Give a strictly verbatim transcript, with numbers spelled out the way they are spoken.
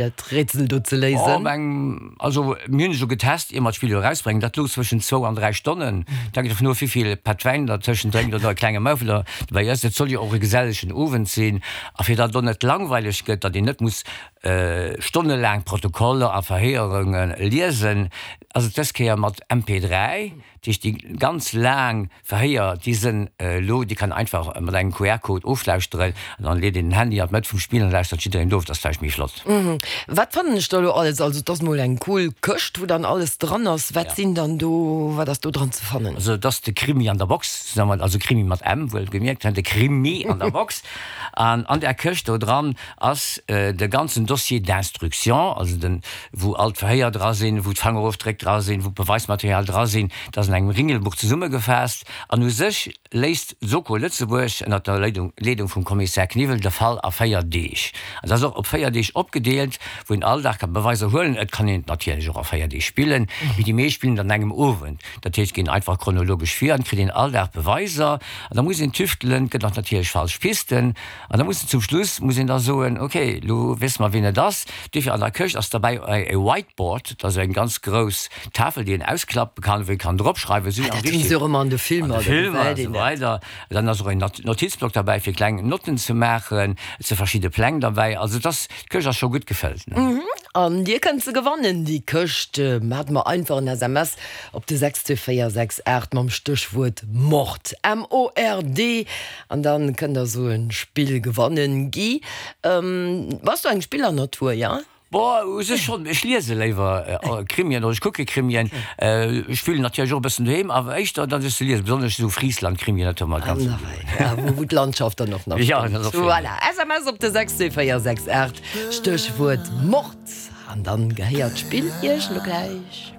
Dat Rätsel do ze léisen? Oh, eng, also mir hunn et jo getest, ier mer d'Spill elo erausbréngen, dat louch zwëschen zwou an dräi Stonnen. Dat hänkt dovun of, wéi vill Pätt Wäin der tëschent drénkt oder e klenge Maufel der dobäi ësst. Et soll jo och e gesellegen Owend sinn. A fir datt et och net langweileg gëtt, datt een net muss stonnelaang Protokoller a Verhéierunge liesen, ass et dës Kéier mat M P dräi. Dat heescht, déi ganz laang Verhéier, déi sënn elo, déi kann einfach mat engem Q R-Code oflauschteren an dann leet een den Handy an d'Mëtt vum Spill an lauschtert jiddereen of. Dat ass vläicht méi flott. Wat fannen ech da elo alles? Also et ass mol eng cool Këscht, wou dann alles dran ass. Wat sinn dann do, wat ass do dran ze fannen? Also et ass de Krimi an der Box, also Krimi mat M wuelgemierkt, de Krimi an der Box. An an där Këscht do dran ass de ganzen Dossier d'instruction, also den, wou all d'Verhéier dra sinn, wou d'Fangerofdréck dra sinn, wou d'Beweismaterial dra sinn. Dat ass an engem Ringelbuch zesummegefaasst. An u sech léist d'Soko Lëtzebuerg ënner der Leedung, Leedung vum Kommissär Kniwwel de Fall a véier Deeg. An dat ass och op véier Deeg opgedeelt, wou een all Dag ka Beweiser huelen. Et kann een et natierlech och a véier Deeg spillen, mee déi meescht spillen et an engem Owend. Dat heescht, ginn einfach chronologesch vir an et kritt een all Dag Beweiser. An da muss een tüftelen, et gëtt och natierlech falsch Pisten. An da muss een zum Schluss muss een da soen, okay, elo wësse mer wien et ass. Duerfir an der Këscht ass derbäi e Whiteboard, dat ass eng ganz grouss Tafel, déi een ausklappe kann, wou ee kann drop schreiwen, esou Ah, dat hunn se och ëmmer an de Filmer, an de Filmer an esou weider. Dann ass och en Notizblock derbäi fir kleng Notten ze maachen. Et si verschidde Pläng derbäi. Also et ass, d'Këscht ass scho gutt gefëllt. An Dir kënnt se gewannen, déi Këscht. Maacht mer einfach en S M S op de sechs zwee véier sechs aacht mam Stéchwuert Mord, M O R D, an dann kënnt der esou en Spill gewannen. Guy, bass du eng Spillernatur, jo? Boah, u sech schonn. Ech liese léiwer Krimien oder ech kucke Krimien. Ech spillen natierlech och e bëssen doheem, awer éischter datt ech se liesen, besonnesch esou Friesland-Krimien, dat huet mer ganz gutt gefall. Ja, wou d'Landschaft dann och nach stëmmt. Voilà, S M S op de sechs zwee véier sechs aacht, Stéchwuert Mord, an dann gehéiert d'Spill iech elo gläich.